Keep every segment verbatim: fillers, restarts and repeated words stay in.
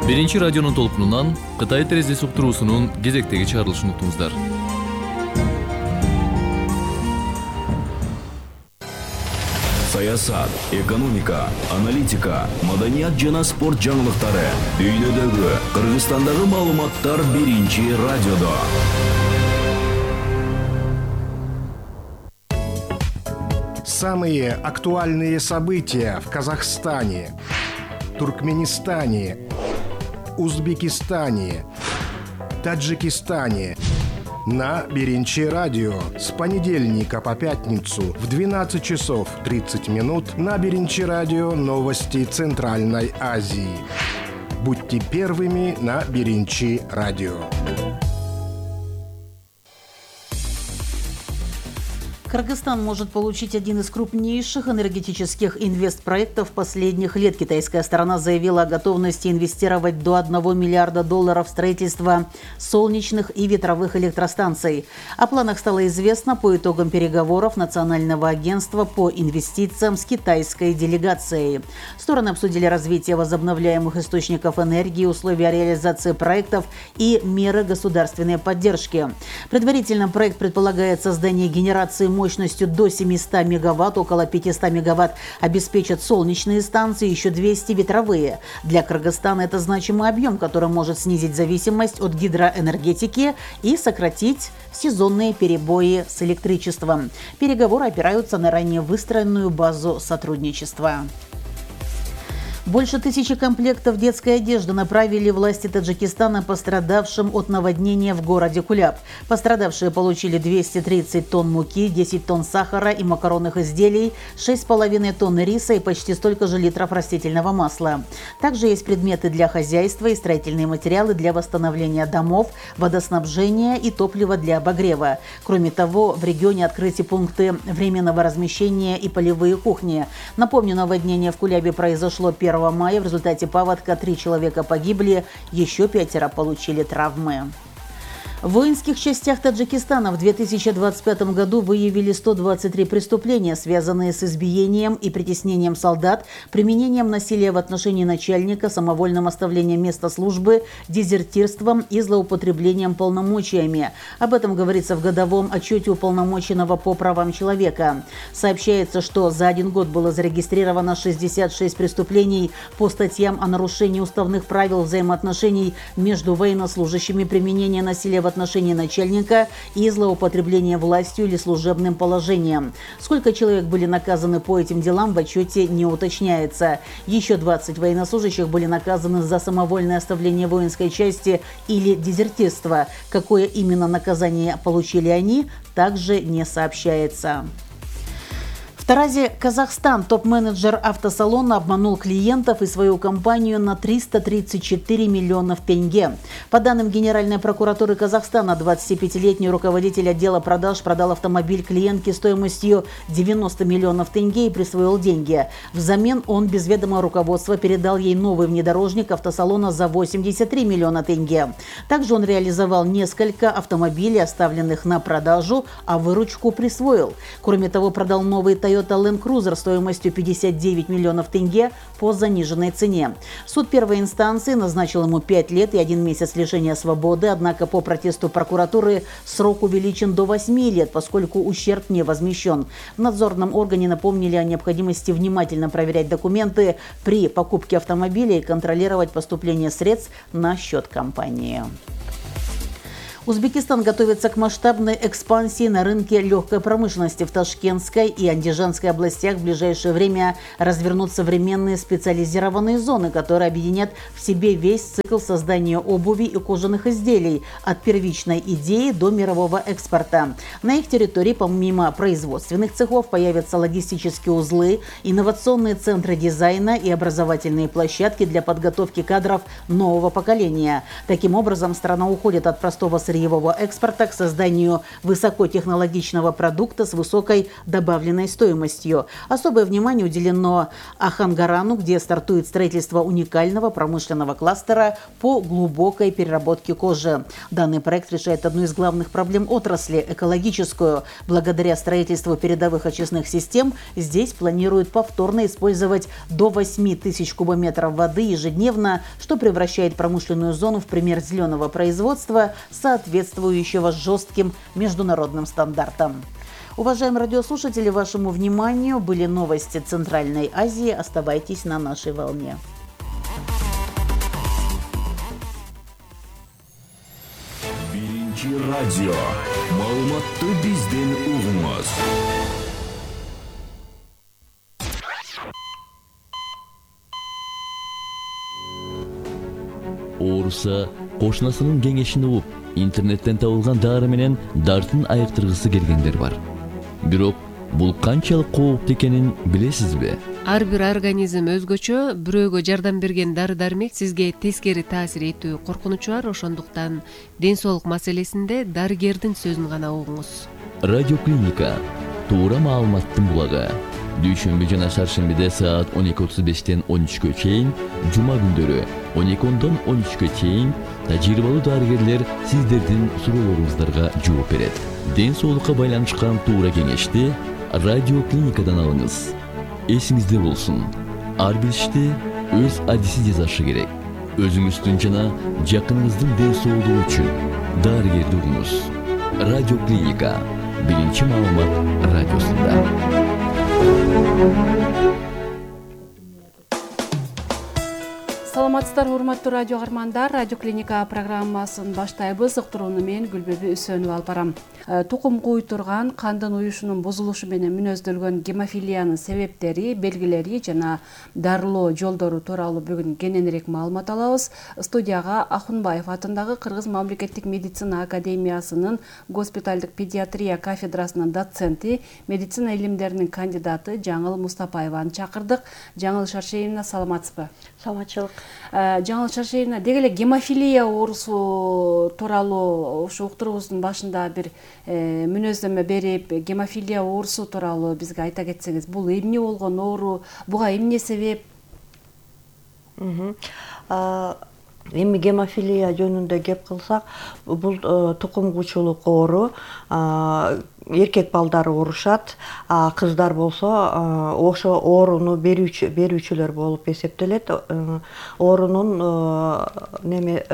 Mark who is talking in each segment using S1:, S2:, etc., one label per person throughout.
S1: Биринчи радионун толкунунан Кытай терезеси уктуруусунун кезектеги чыгарылышын уктуңуздар.
S2: Саясат, экономика, аналитика, маданият жана спорт жаңылыктары. Дүйнөдөгү, Кыргызстандагы маалыматтар биринчи радиодо.
S3: Самые актуальные события в Казахстане, Туркменистане, Узбекистане, Таджикистане на Биринчи радио с понедельника по пятницу в двенадцать часов тридцать минут на Биринчи радио новости Центральной Азии. Будьте первыми на Биринчи радио.
S4: Кыргызстан может получить один из крупнейших энергетических инвестпроектов последних лет. Китайская сторона заявила о готовности инвестировать до одного миллиарда долларов в строительство солнечных и ветровых электростанций. О планах стало известно по итогам переговоров Национального агентства по инвестициям с китайской делегацией. Стороны обсудили развитие возобновляемых источников энергии, условия реализации проектов и меры государственной поддержки. Предварительно проект предполагает создание генерации мощности мощностью до семисот мегаватт, около пятисот мегаватт обеспечат солнечные станции, еще двести ветровые. Для Кыргызстана это значимый объем, который может снизить зависимость от гидроэнергетики и сократить сезонные перебои с электричеством. Переговоры опираются на ранее выстроенную базу сотрудничества. Больше тысячи комплектов детской одежды направили власти Таджикистана пострадавшим от наводнения в городе Куляб. Пострадавшие получили двести тридцать тонн муки, десять тонн сахара и макаронных изделий, шесть с половиной тонн риса и почти столько же литров растительного масла. Также есть предметы для хозяйства и строительные материалы для восстановления домов, водоснабжения и топлива для обогрева. Кроме того, в регионе открыты пункты временного размещения и полевые кухни. Напомню, наводнение в Кулябе произошло первого мая. В результате паводка три человека погибли, еще пятеро получили травмы. В воинских частях Таджикистана в две тысячи двадцать пятом году выявили сто двадцать три преступления, связанные с избиением и притеснением солдат, применением насилия в отношении начальника, самовольным оставлением места службы, дезертирством и злоупотреблением полномочиями. Об этом говорится в годовом отчете уполномоченного по правам человека. Сообщается, что за один год было зарегистрировано шестьдесят шесть преступлений по статьям о нарушении уставных правил взаимоотношений между военнослужащими, применение насилия в отношении начальника и злоупотребление властью или служебным положением. Сколько человек были наказаны по этим делам, в отчете не уточняется. Еще двадцать военнослужащих были наказаны за самовольное оставление воинской части или дезертирство. Какое именно наказание получили они, также не сообщается. В Таразе, Казахстан, топ-менеджер автосалона обманул клиентов и свою компанию на триста тридцать четыре миллионов тенге. По данным Генеральной прокуратуры Казахстана, двадцатипятилетний руководитель отдела продаж продал автомобиль клиентке стоимостью девяносто миллионов тенге и присвоил деньги. Взамен он без ведома руководства передал ей новый внедорожник автосалона за восемьдесят три миллиона тенге. Также он реализовал несколько автомобилей, оставленных на продажу, а выручку присвоил. Кроме того, продал новый Toyota Land Cruiser стоимостью пятьдесят девять миллионов тенге по заниженной цене. Суд первой инстанции назначил ему пять лет и один месяц лишения свободы, однако по протесту прокуратуры срок увеличен до восьми лет, поскольку ущерб не возмещен. В надзорном органе напомнили о необходимости внимательно проверять документы при покупке автомобиля и контролировать поступление средств на счет компании. Узбекистан готовится к масштабной экспансии на рынке легкой промышленности. В Ташкентской и Андижанской областях в ближайшее время развернут современные специализированные зоны, которые объединят в себе весь цикл создания обуви и кожаных изделий от первичной идеи до мирового экспорта. На их территории помимо производственных цехов появятся логистические узлы, инновационные центры дизайна и образовательные площадки для подготовки кадров нового поколения. Таким образом, страна уходит от простого сырья сырьевого экспорта к созданию высокотехнологичного продукта с высокой добавленной стоимостью. Особое внимание уделено Ахангарану, где стартует строительство уникального промышленного кластера по глубокой переработке кожи. Данный проект решает одну из главных проблем отрасли – экологическую. Благодаря строительству передовых очистных систем здесь планируют повторно использовать до восьми тысяч кубометров воды ежедневно, что превращает промышленную зону в пример зеленого производства, соответствующего жестким международным стандартам. Уважаемые радиослушатели, вашему вниманию были новости Центральной Азии. Оставайтесь на нашей волне.
S2: Биринчи радио. Маалыматты бизден угуңуз.
S5: Ооруса кошунасынын кеңешин угуп, интернеттен табылган дары менен дартын айыктыргысы келгендер бар. Бирок бул канчалык кооптуу экенин билесизби?
S6: Ар бир организм өзгөчө, бирөөгө жардам берген дары-дармек сизге тескери таасир этүү коркунучу бар, ошондуктан ден соолук маселесинде дарыгердин сөзүн гана угуңуз.
S5: Радиоклиника туура маалыматтын булагы. Дүйшөмбү жана шаршембиде саат он эки отуз бештен он үчкө чейин, жума күндөрү он эки ондон он үчкө чейин тажрыйбалуу дарыгерлер сиздердин суроолоруңуздарга жооп берет. Ден соолукка байланышкан туура кеңешти радиоклиникадан алыңыз. Эсиңизде болсун, ар бир ишти өз адиси жасашы керек. Өзүңүздүн жана жакыныңыздын ден соолугу үчүн дарыгерди угуңуз. Радиоклиника биринчи маалымат радиосунда.
S7: Саламатсыздар, урматтуу радио каармандар. Радиоклиника программасын баштайбыз. Уктурууну мен Гүлбөбү Үсөнова алып барам. Тукум куйтурган кандын уюшунун бузулушу менен мүнөздөлгөн гемофилиянын себептери, белгилери жана дарылоо жолдору тууралуу бүгүн кененирээк маалымат алабыз. Студияга Ахунбаев атындагы Кыргыз мамлекеттик медицина академиясынын госпиталдык педиатрия кафедрасынын доценти, медицина илимдеринин кандидаты Жаңыл Мустапаеваны чакырдык. Жаңыл Шаршеевна, саламатсызбы?
S8: Саламатчылык.
S7: Жаңыл Шаршеевна, деги эле гемофилия оорусу тууралуу ушу уктуруубуздун башында бир мүнөздөмө берип, гемофилия оорусу тууралуу бизге айта кетсеңиз, бул эмне болгон оору, буга эмне себеп?
S8: Эми гемофилия жөнүндө кеп кылсак, бул тукум куучулук оору, эркек балдар оорушат, кыздар болсо ошо ооруну берүүчү берүүчүлөр болуп эсептелет. Оорунун неме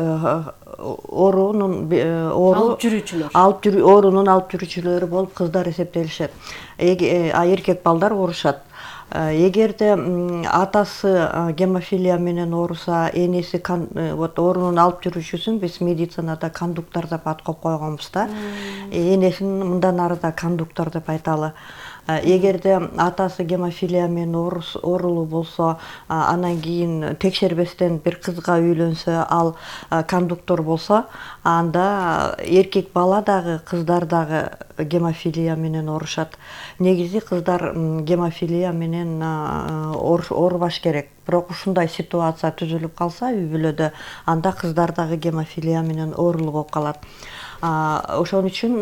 S8: оорунун оору
S7: алып жүрүүчүлөр.
S8: Алып жүрүү оорунун алып жүрүүчүлөрү болуп кыздар эсептелишет. А эркек балдар оорушат. Эгерде атасы гемофилия менен ооруса, энеси вот оорунун алып жүрүүчүсүн биз медицинада кондуктор деп ат коюп койгонбуз да. Энесин мындан арыда кондуктор деп айталы. Эгерде атасы гемофилия менен оорулуу болсо, анан кийин текшербестен бир кызга үйлөнсө, ал кондуктор болсо, анда эркек бала дагы, кыздар дагы гемофилия менен оорушат. Негизи кыздар гемофилия менен оорубаш керек. Бирок ушундай ситуация түзүлүп калса үй бүлөдө, анда кыздар дагы гемофилия менен оорулуу болуп калат. Ошон үчүн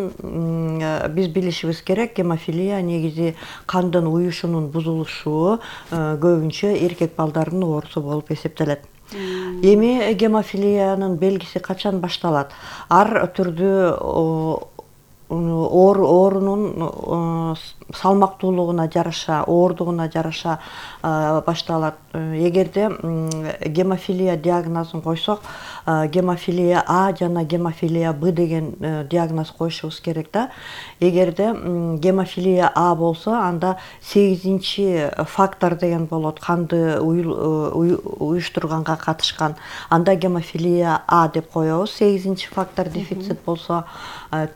S8: биз билишибиз керек, гемофилия негизи кандын уюшунун бузулушу, көбүнчө эркек балдардын оорусу болуп эсептелет. Эми гемофилиянын белгиси качан башталат? Ар түрдүү оорунун салмактуулугуна жараша, оордугуна жараша башталат. Эгерде гемофилия диагнозун койсок, гемофилия А жана гемофилия Б деген диагноз коюшубуз керек да. Эгерде гемофилия А болсо, анда сегизинчи фактор деген болот, канды уюштурганга катышкан. Анда гемофилия А деп коебуз. сегизинчи фактор дефицит болсо,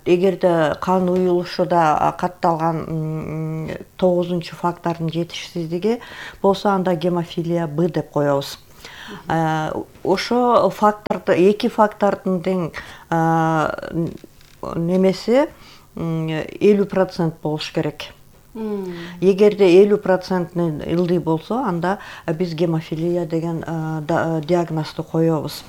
S8: эгерде кан уюлушуда катталган тогузунчу фактордун жетишсиздиги болсо, анда гемофилия Б деп коебуз. Ошо факторду, эки фактордун тең немеси элүү процент болуш керек. Эгерде элүү проценттин ылдый болсо, анда биз гемофилия деген диагнозду коебуз.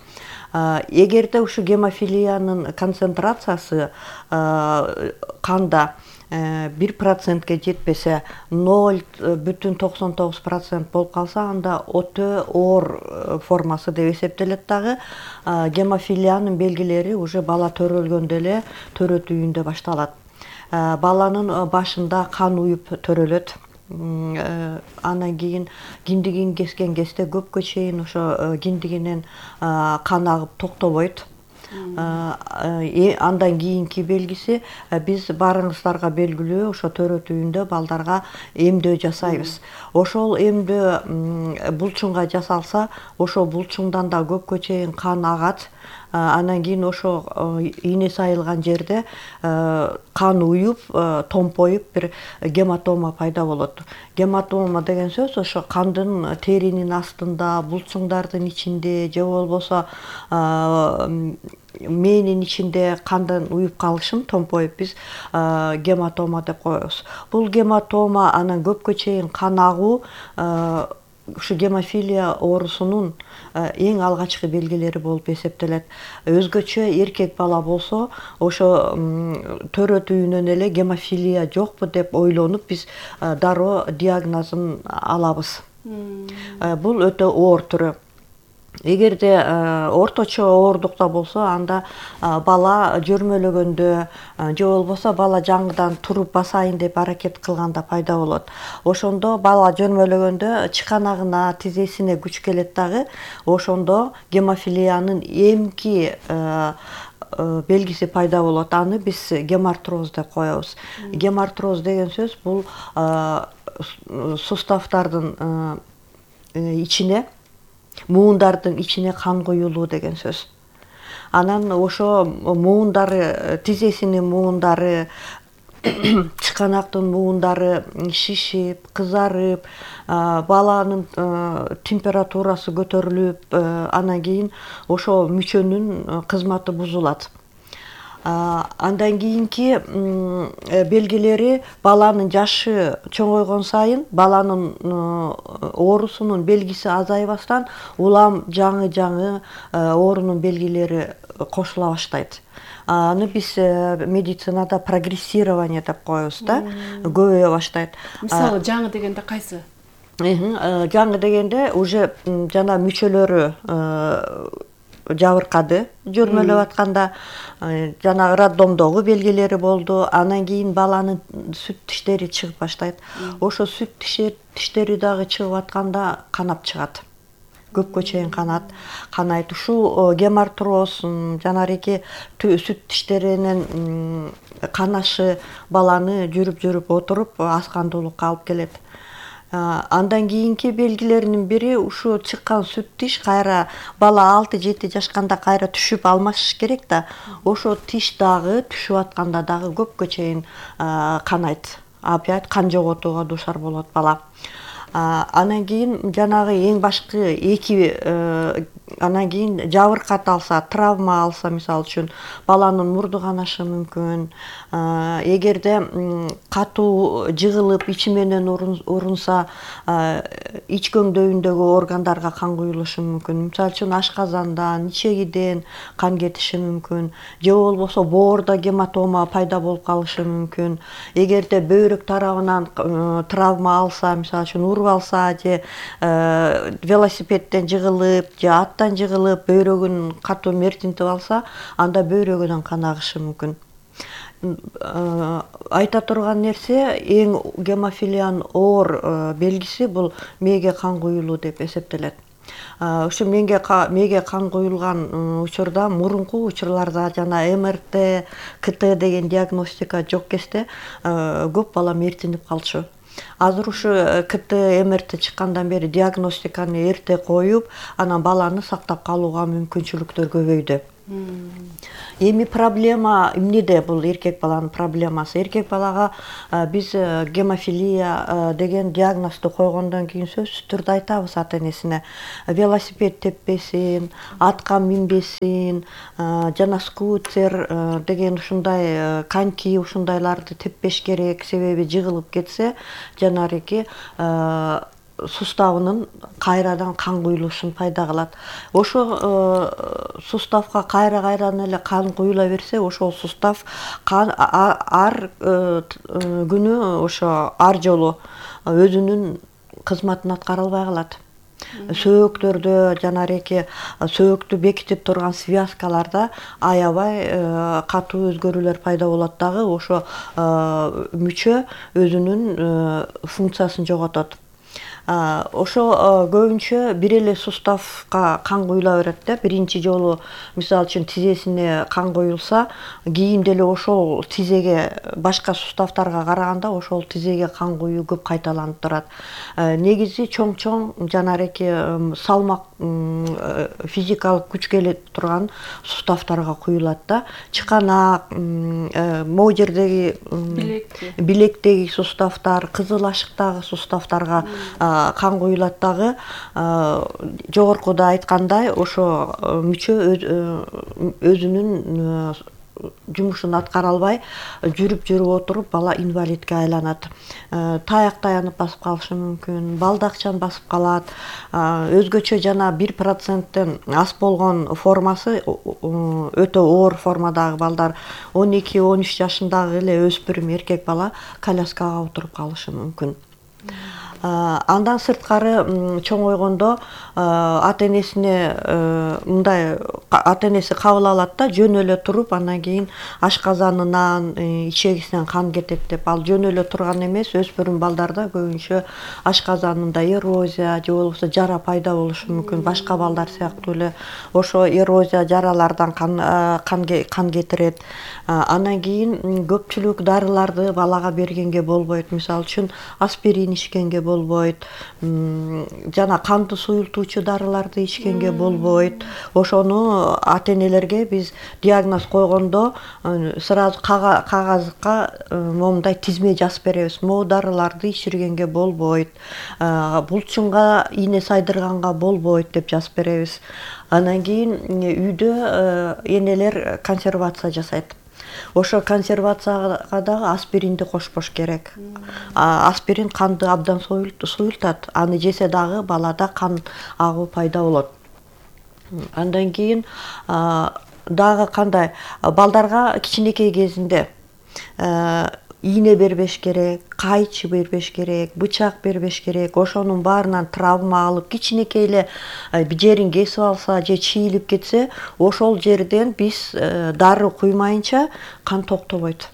S8: Эгерде ушу гемофилиянын концентрациясы канда бир процентке жетпесе, ноль бүтүн токсон тогуз процент болуп калса, анда өтө оор формасы деп эсептелет. Дагы гемофилиянын белгилери уже бала төрөлгөндө эле төрөтүүндө башталат. Баланын башында кан уюп төрөлөт. Анан кийин киндигин кескен кезде көпкө чейин ошо киндигинен кан агып токтобойт. Андан кийинки белгиси биз баарыңыздарга белгилүү ошо төрөтүүндө балдарга эмдөө жасайбыз. Ошол эмдөө булчуңга жасалса, ошо булчуңдан да көпкө чейин кан агат. Анан кийин ошо ийне сайылган жерде кан уюп, томпоюп бир гематома пайда болот. Гематома деген сөз ошо кандын теринин астында, булчуңдардын ичинде же болбосо мээнин ичинде кандын уюп калышын томпоюп биз гематома деп коебуз. Бул гематома анан көпкө чейин кан агуу ушу гемофилия оорусунун эң алгачкы белгилери болуп эсептелет. Өзгөчө эркек бала болсо, ошо төрөтүүнөн эле гемофилия жокпу деп ойлонуп биз дароо диагнозун алабыз. Бул өтө оор түрү. Эгерде орточо оорлукта болсо, анда бала жөрмөлөгөндө же болбосо бала жаңыдан туруп басайын деп аракет кылганда пайда болот. Ошондо бала жөрмөлөгөндө чыканагына, тизесине күч келет дагы. Ошондо гемофилиянын эмки белгиси пайда болот. Аны биз гемартроз деп коебуз. Гемартроз деген сөз бул суставтардын ичине, муундардын ичине кан куюлуу деген сөз. Анан ошо муундары, тизесинин муундары, чыканактын муундары шишип, кызарып, баланын температурасы көтөрүлүп, анан кийин ошо мүчөнүн кызматы бузулат. Андан кийинки белгилери баланын жашы чоңойгон сайын баланын оорусунун белгиси азайбастан улам жаңы-жаңы оорунун белгилери кошула баштайт. Аны биз медицинада прогрессирование деп коебуз да, көбөйө баштайт.
S7: Мисалы жаңы дегенде кайсы?
S8: Жаңы дегенде уже жана мүчөлөрү жабыркады, жөрмөлөп атканда жанагы роддомдогу белгилери болду. Анан кийин баланын сүт тиштери чыгып баштайт. Ошо сүт тиштери дагы чыгып атканда канап чыгат. Көпкө чейин канат, канайт. Ушул гемартроз, жанагы сүт тиштеринин канашы баланы жүрүп-жүрүп отуруп аскандуулукка алып келет. Андан кийинки белгилеринин бири ушу чыккан сүт тиш кайра бала алты жети жашканда кайра түшүп алмаш керек да. Ошо тиш дагы түшүп атканда дагы көпкө чейин канайт. Опять кан жоготууга дуушар болот бала. Анан кийин жанагы эң башкы эки анан кийин жабыркат алса, травма алса, мисалы үчүн баланын мурду канашы мүмкүн. Эгерде катуу жыгылып ичи менен урунса, ич көңдөйүндөгү органдарга кан куюлушу мүмкүн. Мисалы үчүн ашказандан, ичегиден кан кетиши мүмкүн. Же болбосо боордо гематома пайда болуп калышы мүмкүн. Эгерде бөйрөк тарабынан травма алса, мисалы үчүн уруп алса, же велосипедден жыгылып, же аттан жыгылып, бөйрөгүн катуу мертинтип алса, анда бөйрөгүнөн кан агышы мүмкүн. Айта турган нерсе, эң гемофилиянын оор белгиси бул мээге кан куюлуу деп эсептелет. Ушу мээге кан куюлган учурда, мурунку учурларда жана эм эр тэ, ка тэ деген диагностика жок кезде көп бала мертинип калчу. Азыр ушу ка тэ, эм эр тэ чыккандан бери диагностиканы эрте коюп, анан баланы сактап калууга мүмкүнчүлүктөр көбөйдү. Эми проблема эмнеде? Бул эркек баланын проблемасы. Эркек балага биз гемофилия деген диагнозду койгондон кийин сөзсүз түрдө айтабыз ата-энесине: велосипед теппесин, атка минбесин, жана скутер деген ушундай коньки ушундайларды теппеш керек, себеби жыгылып кетсе жанагы суставынын кайрадан кан куюлушун пайда кылат. Ошо суставка кайра кайрадан эле кан куюла берсе, ошол сустав кан ар күнү ошо ар жолу өзүнүн кызматын аткара албай калат. Сөөктөрдө жана эки сөөктү бекитип турган связкаларда аябай катуу өзгөрүүлөр пайда болот дагы, ошо мүчө өзүнүн функциясын жоготот. Ошо көбүнчө бир эле суставка кан куюла берет да. Биринчи жолу мисалы үчүн тизесине кан куюлса, кийин деле ошол тизеге башка суставтарга караганда ошол тизеге кан куюу көп кайталанып турат. Негизи чоң-чоң жана эки салмак физикалык күч келе турган суставтарга куюлат да. Чыканак, могу жердеги билектеги суставтар, кызыл ашыктагы суставтарга кан куюлат дагы. Жогоркуда айткандай, ошо мүчө өзүнүн жумушун аткара албай жүрүп жүрүп отуруп бала инвалидке айланат. Таяк таянып басып калышы мүмкүн, балдакчан басып калат. Өзгөчө жана бир проценттен аз болгон формасы өтө оор формадагы балдар он эки он үч жашындагы эле өспүрүм эркек бала коляскага отуруп калышы мүмкүн. Андан сырткары чоңойгондо ата-энесине мындай ата-энеси кабыл алат да, жөн эле туруп, андан кийин ашказанынан, ичегисинен кан кетет деп. Ал жөн эле турган эмес, өспүрүм балдарда көбүнчө ашказанында эрозия же болбосо жара пайда болушу мүмкүн. Башка балдар сыяктуу эле ошо эрозия, жаралардан кан кан кетирет. Андан кийин көпчүлүк дарыларды балага бергенге болбойт. Мисалы үчүн аспирин ичкенге болбойт, жана канды суюлтуучу дарыларды ичкенге болбойт. Ошону ата-энелерге биз диагноз койгондо сразу кагазга момундай тизме жазып беребиз. Могу дарыларды ичиргенге болбойт, булчунга ийне сайдырганга болбойт деп жазып беребиз. Андан кийин үйдө энелер консервация жасайт. Ошо консервацияга дагы аспиринди кошпош керек. Аспирин канды абдан суюлтат. Аны жесе дагы балада кан агуу пайда болот. Андан кийин дагы кандай, балдарга кичинекей кезинде ийне бербеш керек, кайчы бербеш керек, бычак бербеш керек. Ошонун баарынан травма алып, кичинекей эле жерин кесип алса же чийилип кетсе, ошол жерден биз дары куймайынча кан токтобойт.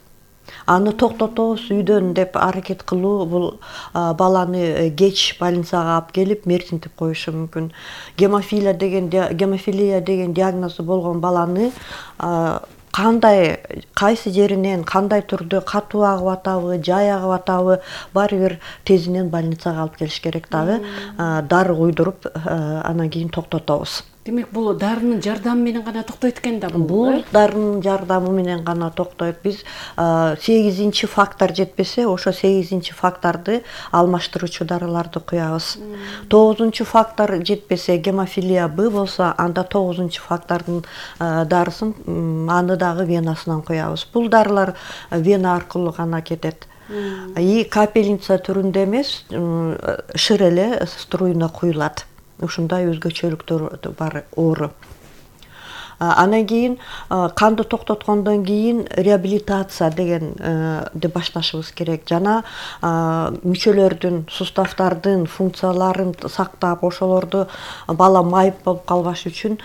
S8: Аны токтотобуз үйдөн деп аракет кылуу бул баланы кеч больницага алып келип мертинтип коюшу мүмкүн. Гемофилия деген гемофилия деген диагнозу болгон баланы кандай, кайсы жеринен, кандай түрдө катуу агып атабы, жай агып атабы, баары бир тезинен больницага алып келиш керек дагы, дары куйдуруп, анан кийин токтотобуз.
S7: Демек, бул дарынын жардамы менен гана токтойт экен да бул?
S8: Бул дарынын жардамы менен гана токтойт. Биз сегизинчи фактор жетпесе, ошо сегизинчи факторду алмаштыруучу дарыларды куябыз. тогузунчу фактор жетпесе, гемофилия Б болсо, анда тогузунчу фактордун дарысын аны дагы венасынан куябыз. Бул дарылар вена аркылуу гана кетет. И капельница түрүндө эмес, шыр эле струйна куюлат. Ушундай өзгөчөлүктөр бар оору. Анан кийин канды токтоткондон кийин реабилитация дегенди башташыбыз керек. Жана мүчөлөрдүн, суставтардын функцияларын сактап, ошолорду бала майып болуп калбаш үчүн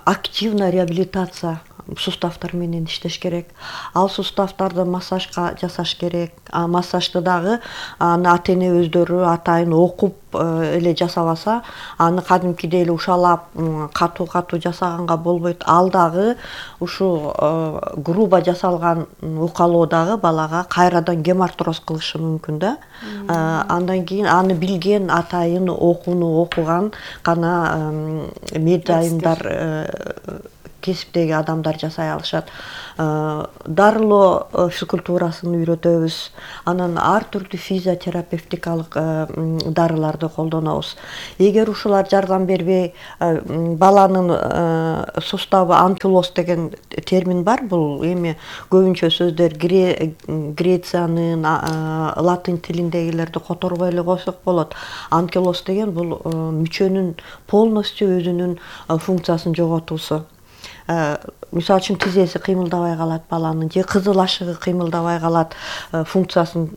S8: активна реабилитация суставтар менен иштеш керек. Ал суставтарды массажга жасаш керек. А массажды дагы аны ата-эне өздөрү атайын окуп эле жасабаса, аны кадимкидей эле ушалап катуу-катуу жасаганга болбойт. Ал дагы ушу грубо жасалган укалоо дагы балага кайрадан гемартроз кылышы мүмкүн да. Андан кийин аны билген атайын окууну окуган гана медайымдар кесиптеги адамдар жасай алышат. Дарылоо физкультурасын үйрөтөбүз. Анан ар түрдүү физиотерапевтикалык дарыларды колдонобуз. Эгер ушулар жардам бербей, баланын суставы анкилоз деген термин бар. Бул эми көбүнчө сөздөр Грециянын, латын тилиндегилерди которбой эле койсок болот. Анкилоз деген бул мүчөнүн полностью өзүнүн функциясын жоготуусу. Мисалы үчүн тизеси кыймылдабай калат баланын, же кызыл ашыгы кыймылдабай калат, функциясын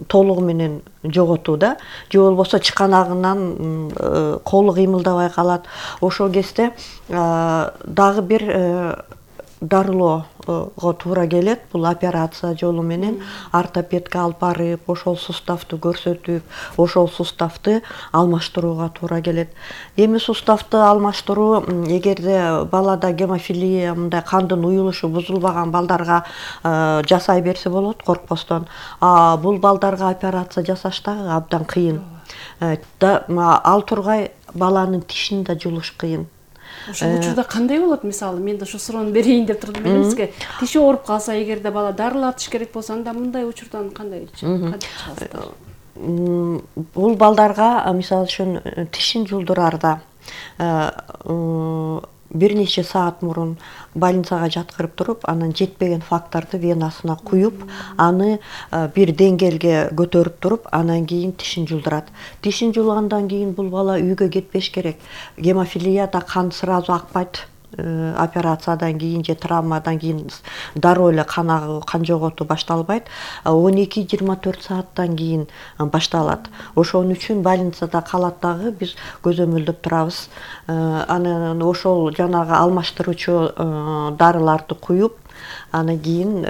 S8: толугу менен жоготуу да, же болбосо чыканагынан колу кыймылдабай калат. Ошол кезде дагы бир дарылоого туура келет. Бул операция жолу менен ортопедке алып барып, ошол суставты көрсөтүп, ошол суставты алмаштырууга туура келет. Эми суставты алмаштыруу эгерде балада гемофилия, мындай кандын уюлушу бузулбаган балдарга жасай берсе болот коркпостон. А бул балдарга операция жасаш дагы абдан кыйын. Ал тургай баланын тишин да жулуш кыйын.
S7: Ошол учурда кандай болот? Мисалы, мен да ушу суроону берейин деп турдум. Билесизби? Тиши ооруп калса, эгерде бала дарылатыш керек болсо, анда мындай учурдан кандай чыгасыздар?
S8: Бул балдарга мисалы үчүн тишин жулдурарда бир нече саат мурун больницага жаткырып туруп, анан жетпеген факторду венасына куюп, аны бир деңгээлге көтөрүп туруп, анан кийин тишин жулдурат. Тишин жулгандан кийин бул бала үйгө кетпеш керек. Гемофилияда кан сразу акпайт. Операциядан кийин же травмадан кийин дароо эле кан агуу, кан жоготуу башталбайт. он эки жыйырма төрт сааттан кийин башталат. Ошон үчүн больницада калат дагы биз көзөмөлдөп турабыз. Анан ошол жанагы алмаштыруучу дарыларды куюп, анан кийин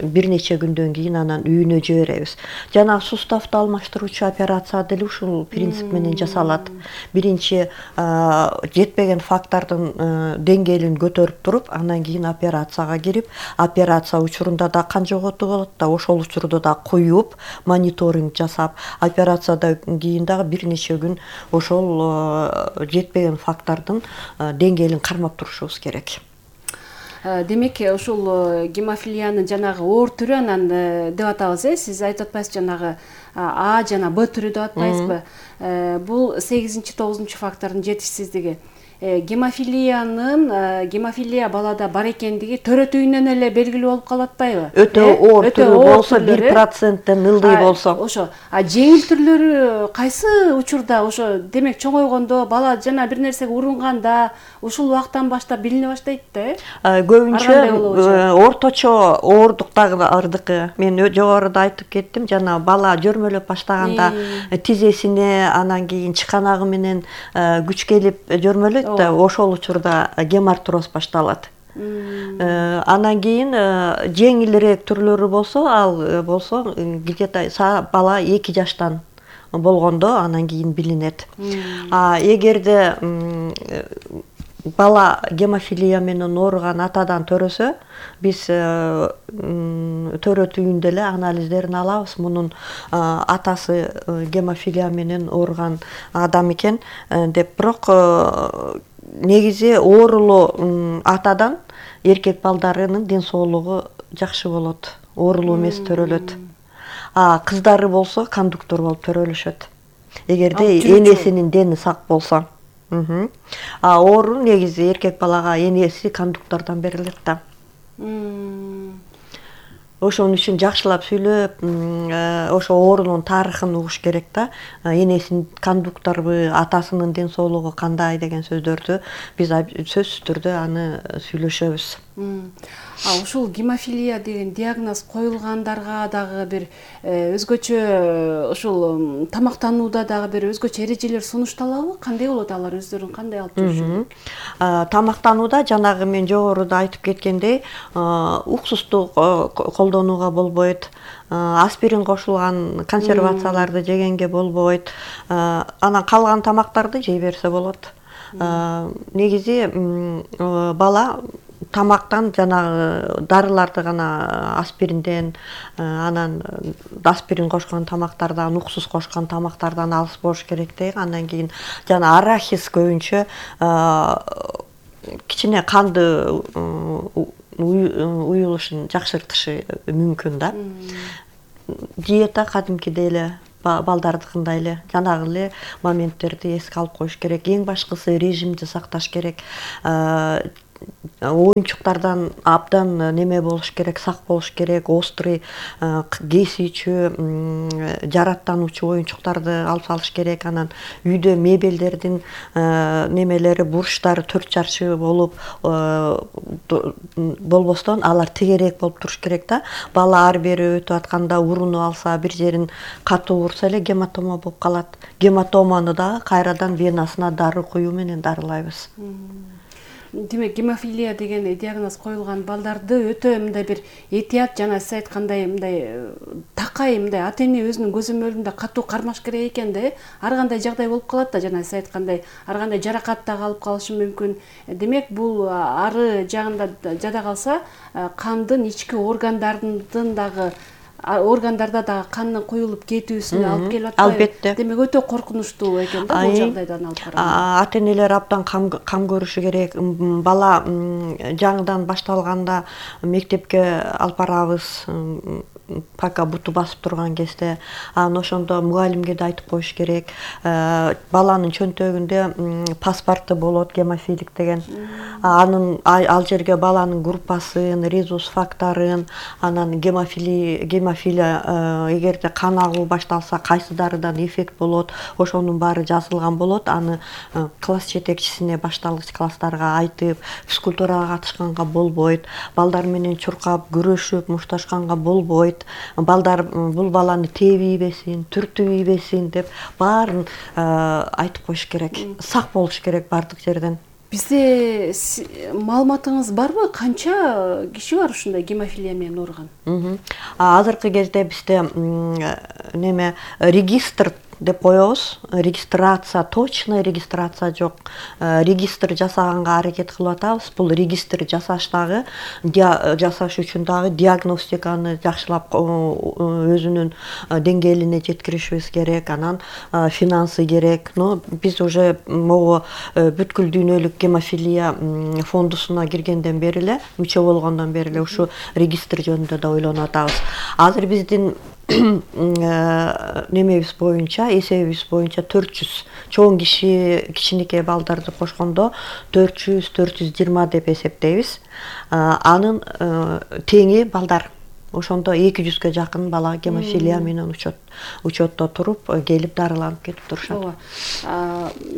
S8: бир нече күндөн кийин анан үйүнө жиберебиз. Жана суставты алмаштыруучу операция деле ушул принцип менен жасалат. Биринчи жетпеген фактордун деңгээлин көтөрүп туруп, анан кийин операцияга кирип, операция учурунда да кан жоготуу болот да, ошол учурда да коюп, мониторинг жасап, операциядан кийин дагы бир нече күн ошол жетпеген фактордун деңгээлин кармап турушубуз керек.
S7: Демек, ушул гемофилиянын жанагы оор түрү анан деп атабыз, э? Сиз айтып атпайсыз жанагы А жана Б түрү деп атпайсызбы? Бул сегизинчи тогузунчу фактордун жетишсиздиги. Гемофилиянын гемофилия балада бар экендиги төрөтүүнөн эле белгилүү болуп калып атпайбы?
S8: Өтө оор түрү болсо, бир проценттен ылдый болсо.
S7: Ошо. А жеңил түрлөрү кайсы учурда? Ошо демек чоңойгондо, бала жана бир нерсеге урунганда, ушул убактан баштап билине баштайт да, э?
S8: Көбүнчө орточо ооруктардыкы. Мен жогоруда айтып кеттим, жана бала жөрмөлөп баштаганда тизесине, анан кийин чыканагы менен күч келип жөрмөлөйт. Ошол учурда гемартроз башталат. Анан кийин жеңилирээк түрлөрү болсо, ал болсо где-то бала эки жаштан болгондо анан кийин билинет. А эгерде бала гемофилия менен ооруган атадан төрөсө, биз төрөтүүндө эле анализдерин алабыз. Мунун атасы гемофилия менен ооруган адам экен деп. Бирок негизи оорулуу атадан эркек балдарынын ден соолугу жакшы болот. Оорулуу эмес төрөлөт. А кыздары болсо кондуктор болуп төрөлүшөт. Эгерде энесинин дени сак болсо. А оору негизи эркек балага энеси кондуктордон берилет да. Ошон үчүн жакшылап сүйлөп, ошо оорунун тарыхын угуш керек да. Энесинин кондукторбу, атасынын ден соолугу кандай деген сөздөрдү биз сөзсүз түрдө аны сүйлөшөбүз.
S7: А ушул гемофилия деген диагноз коюлгандарга дагы бир өзгөчө ушул тамактанууда дагы бир өзгөчө эрежелер сунушталабы? Кандай болот алар, өздөрүн кандай алып жүрүшөт?
S8: Тамактанууда жанагы мен жогоруда айтып кеткендей, уксусту колдонууга болбойт, аспирин кошулган консервацияларды жегенге болбойт. Анан калган тамактарды жей берсе болот. Негизи бала тамактан жанагы дарыларды гана, аспиринден, анан аспирин кошкон тамактардан, уксус кошкон тамактардан алыс болуш керек дейм. Андан кийин жана арахис көбүнчө кичине канды уюлушун жакшыртышы мүмкүн да. Диета кадимкидей эле балдардыкындай эле жанагы эле моменттерди эске алып коюш керек. Эң башкысы режимди сакташ керек. Оюнчуктардан абдан неме болуш керек, сак болуш керек. Острый, кесүүчү, жараттануучу оюнчуктарды алып салыш керек. Анан үйдө мебелдердин немелери, бурчтары төрт чарчы болуп болбостон алар тегерээк болуп туруш керек да. Бала ар бери өтүп атканда урунуп алса, бир жерин катуу урса эле гематома болуп калат. Гематоманы дагы кайрадан венасына дары куюу менен дарылайбыз.
S7: Демек, гемофилия деген диагноз коюлган балдарды өтө мындай бир этият жана сиз айткандай мындай такай мындай ата-эне өзүнүн көзөмөлүндө катуу кармаш керек экен да. Ар кандай жагдай болуп калат да, жана сиз айткандай ар кандай жаракат дагы алып калышы мүмкүн. Демек, бул ары жагында жада калса кандын ички органдардын дагы органдарда дагы кандын куюлуп кетүүсүнө алып келип атпайбы?
S8: Албетте.
S7: Демек, өтө коркунучтуу экен да бул жагдайдан алып караганда.
S8: Ата-энелер абдан кам көрүшү керек. Бала жаңыдан башталганда мектепке алып барабыз, пока буту басып турган кезде, анан ошондо мугалимге да айтып коюш керек. Баланын чөнтөгүндө паспорты болот, гемофилик деген. Анын ал жерге баланын группасын, резус факторун, анан гемофилия, гемофилия эгерде кан агуу башталса кайсы дарыдан эффект болот, ошонун баары жазылган болот. Аны класс жетекчисине, башталгыч класстарга айтып, физкультурага катышканга болбойт, балдар менен чуркап, күрөшүп, мушташканга болбойт. Балдар бул баланы тээп ийбесин, түртүп ийбесин деп баарын айтып коюш керек. Сак болуш керек бардык жерден.
S7: Бизде маалыматыңыз барбы? Канча киши бар ушундай гемофилия менен ооруган?
S8: Азыркы кезде бизде неме регистр деп коебуз. Регистрация, точный регистрация жок. Регистр жасаганга аракет кылып атабыз. Бул регистр жасаш дагы, жасаш үчүн дагы диагностиканы жакшылап өзүнүн деңгээлине жеткиришибиз керек. Анан финансы керек. Но биз уже могу бүткүл дүйнөлүк гемофилия фондусуна киргенден бери эле, мүчө болгондон бери эле ушу регистр жөнүндө да ойлонуп атабыз. Азыр биздин немебиз боюнча, эсебибиз боюнча төрт жүз чоң киши, кичинекей балдарды кошкондо төрт жүз төрт жүз жыйырма деп эсептейбиз. Анын теңи балдар. Ошондо эки жүзгө жакын бала гемофилия менен учетто туруп, келип дарыланып кетип турушат.
S7: Ооба.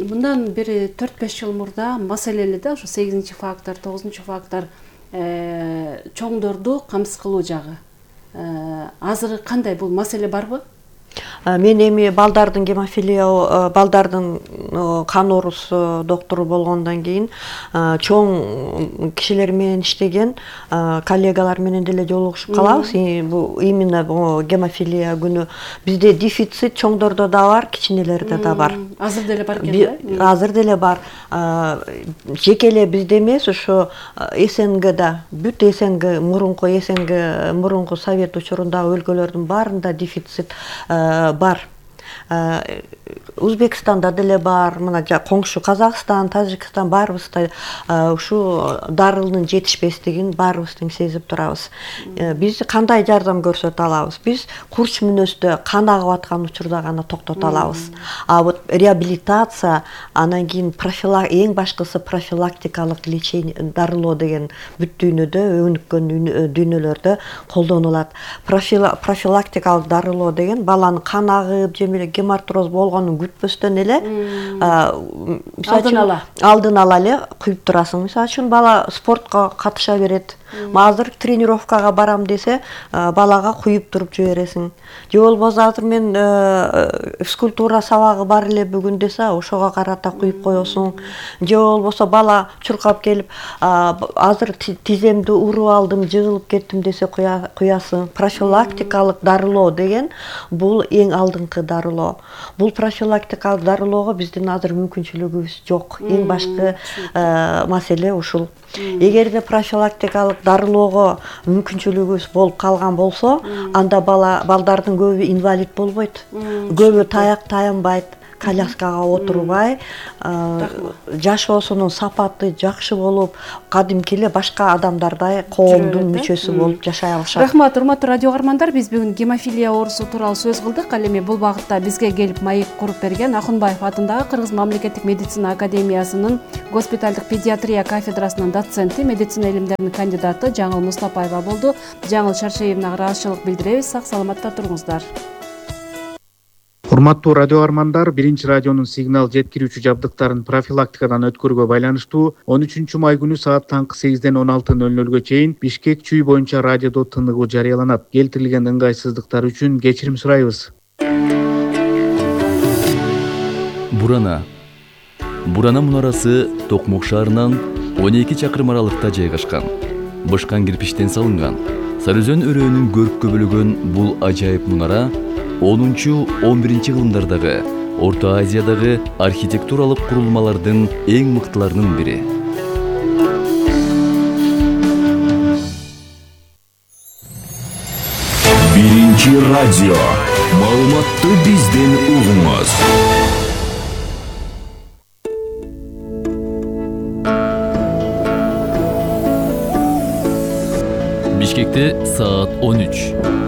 S7: Мындан бери төрт беш жыл мурда маселели да, ушу сегизинчи фактор, тогузунчу фактор чоңдорду камсыз кылуу жагы. Азыр кандай, бул маселе барбы?
S8: Мен эми балдардын гемофилия, балдардын кан оорусу доктору болгондон кийин чоң кишилер менен иштеген, коллегалар менен деле жолугушуп калабыз. Бул именно гемофилия күнү бизде дефицит чоңдордо да бар, кичинелерде да бар.
S7: Азыр деле бар экен да?
S8: Азыр деле бар. Жеке эле бизде эмес, ошо СНГда, бүт СНГ, мурунку СНГ, мурунку Совет учурундагы өлкөлөрдүн баарында дефицит бар. Өзбекстанда деле бар, мына коңшу Казакстан, Тажикстан баарыбызда ушу дарылдын жетишпестигин баарыбыз тең сезип турабыз. Биз кандай жардам көрсөтө алабыз? Биз курч мүнөздө кан агып аткан учурда гана токтото алабыз. А вот реабилитация, анан кийин эң башкысы профилактикалык лечение, дарылоо деген бүт дүйнөдө, өнүккөн дүйнөлөрдө колдонулат. Профилактикалык дарылоо деген баланын кан агып, же гемартроз болгонун күтпөстөн эле
S7: алдын ала
S8: алдын ала эле куюп турасың. Мисалы үчүн бала спортко катыша берет. Азыр тренировкага барам десе, балага куюп туруп жибересиң. Же болбосо азыр мен физкультура сабагы бар эле бүгүн десе, ошого карата куюп коесуң. Же болбосо бала чуркап келип, азыр тиземди уруп алдым, жыгылып кеттим десе куясың. Профилактикалык дарылоо деген бул эң алдыңкы дарылоо. Бул профилактикалык дарылоого биздин азыр мүмкүнчүлүгүбүз жок. Эң башкы маселе ушул. Эгерде профилактикалык дарылоого мүмкүнчүлүгүбүз болуп калган болсо, анда бала балдардын көбү инвалид болбойт. Көбү таяк таянбайт. коляскага отурбай жашоосунун сапаты жакшы болуп, кадимки эле башка адамдардай коомдун мүчөсү болуп жашай алышат.
S7: Рахмат, урматтуу радио каармандар, биз бүгүн гемофилия оорусу тууралуу сөз кылдык. Ал эми бул багытта бизге келип маек куруп берген Акунбаев атындагы Кыргыз мамлекеттик медицина академиясынын госпиталдык педиатрия кафедрасынын доценти, медицина илимдеринин кандидаты Жаңыл Мустапаева болду. Жаңыл Шаршеевнага ыраазычылык билдиребиз. Сак саламатта туруңуздар.
S9: Урматтуу радио каармандар, биринчи радионун сигнал жеткирүүчү жабдыктарын профилактикадан өткөрүүгө байланыштуу он үчүнчү май күнү саат таңкы сегизден он алты нөл нөлгө чейин Бишкек чүй боюнча радиодо тыныгуу жарыяланат. Келтирилген ыңгайсыздыктар үчүн кечирим сурайбыз.
S1: Бурана. Бурана мунарасы Токмок шаарынан он эки чакырым аралыкта жайгашкан. Бышкан кирпичтен салынган. Сарыөзөн өрөөнүн көрккө бөлөгөн бул ажайып мунара онунчу он биринчи кылымдардагы Орто Азиядагы архитектуралык курулмалардын эң мыктыларынын бири.
S2: Биринчи радио. Маалыматты бизден угуңуз.
S1: Бишкекте саат он үч.